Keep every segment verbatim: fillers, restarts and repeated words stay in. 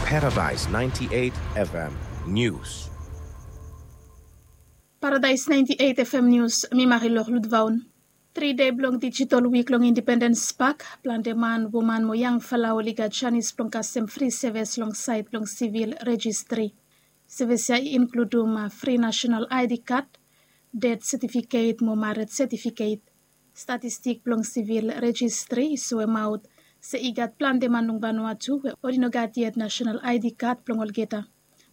Paradise ninety-eight F M News. Paradise ninety-eight F M News, mi Marilor Ludvaun. Tri dei blong Digital Week long Independence Park, plante man, woman mo yangfala oli gat janis blong kasem fri sevis long saed blong sivil rejistri. Sevis ya i inkludum fri nasenal I D kad, ded setifiket mo mared setifiket. Statistik blong sivil rejistri i soemaot se i gat plante man long Vanuatu we oli no gat yet nasenal I D kad blong olgeta.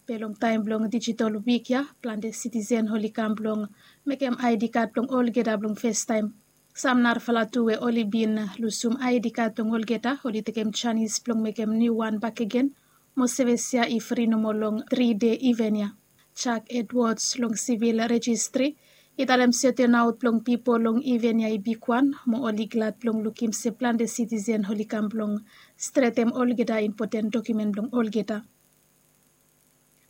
Be long taem blong Digital Week ya, plante sitisen oli kam blong mekem I D kad blong olgeta blong festaem. Sam narafala tu we oli bin lusum I D kad blong olgeta oli tekem janis blong mekem niuwan bakegen. Mo sevis ya i fri nomo long tri dei iven ya. Jack Edwards long sivil rejistri i talem se tonaot blong pipol long iven ya i bigwan mo oli glad blong lukim se plante sitisen oli kam blong stretem olgeta impoten dokiumen blong olgeta.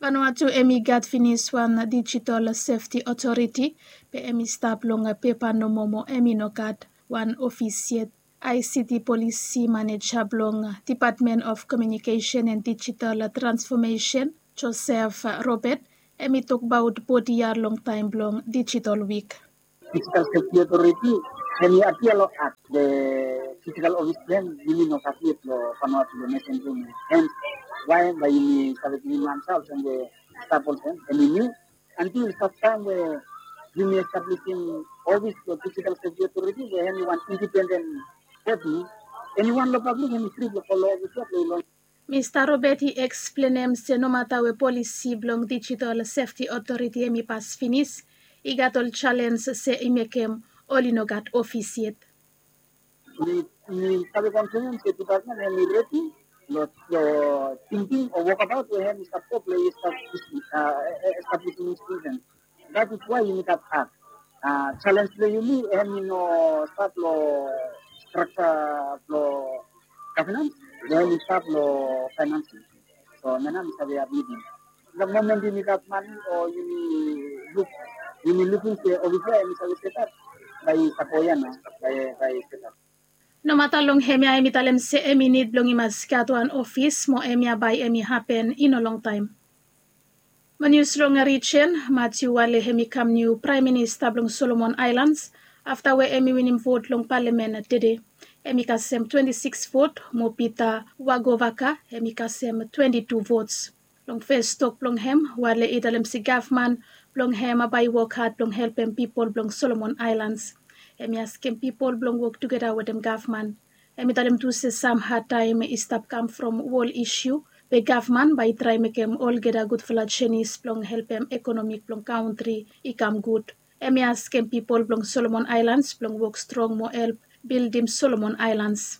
Vanuatu hemi gat finis wan Digital Safety Authority, be hemi stap long pepa nomo mo hemi no gat wan ofis yet. I C T Polisi Maneja blong Department of Communication and Digital Transformation, Joseph Robert, hemi tokbaot bodi ya long taem blong Digital Week. Digital Safety Authority, hemi apia long Act, be fisikal ofis blong hem yumi no gat yet long Vanuatu long nesen blong yumi. Hens wae bae yumi save givim ansa olsem we stap olsem hemi niu. Antil saftaem we yumi establisim ofis blong Digital Safety Authority we hemi wan indipenden bodi, eniwan long pablik hemi fri blong folem ofis ya blong i long. Mista Robert i eksplenem se nomata we polisi blong Digital Safety Authority hemi pas finis, i gat ol jalens se i mekem oli no gat ofis yet. Mi, mi save konfirm se dipatmen hemi redi long, long tingting o wokabaot we hemi stap go blong i establisim, a, e, e, establisim institusen. That is why yumi gat Act. A, jalens blong yumi hemi no stap long strakja blong gavenans, be hemi stap long faenans. So hemia nao mi save apmitim. The moment yumi gat mane o yumi luk, yumi lukim se ofis ya hemi save setap, bae i stap go ya nao, bae, bae i setap. Nomata long hemia hemi talem se hemi nid blong i mas gat wan ofis mo hemia bae hemi hapen i no longtaem. Mo nius long rijen, Matthew Wale hemi kam niu Praem Minista blong Solomon Aelans afta we hemi winim vot long palamen tede. Hemi kasem twenti sikis vot mo Peter Wagovaka hemi kasem twenti tu vots. Long fes tok blong hem, Wale i talem se gavman blong hem bae i wok had blong helpem pipol blong Solomon Aelans. Hemi askem pipol blong wok tugeta wetem gavman. Hemi talem tu se sam hadtaem i stap kam from wol isiu, be gavman bae i traem mekem olgeta gudfala jenis blong helpem ekonomi blong kantri i kam gud. Hemi askem pipol blong Solomon Aelans blong wok strong mo help bildim Solomon Aelans.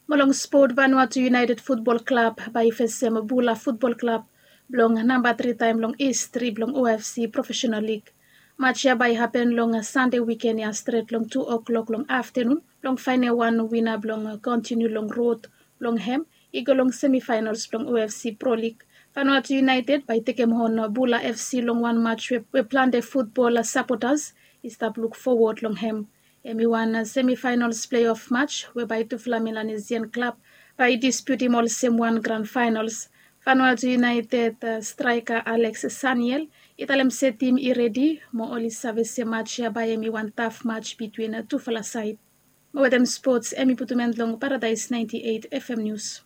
Mo long spot, Vanuatu United Futbol Klab bae i fesem Bula Futbol Klab blong namba tri taem long histri blong O F C Professional Lig. Match ya bae i hapen long Sande wiken ya stret long tu o'klok long aftenun blong faenem wan wina blong kontiniu long rod blong hem i go long semifaenals blong O F C Pro Lig. Vanuatu United bae i tekem on Bula F C long wan match we, we plante futbol sapotas i stap luk fowod long hem. Hemi wan semifaenals pleof match we bae tufala Melanesian klab bae i dispiutim olsem wan gran faenals. Vanuatu United, a, straeka Alex Saniel i talem se tim i redi mo oli save se match ya bae hemi wan taf match bitwin tufala saed. Mo wetem spots, hemi putum en long Paradise ninety-eight F M News.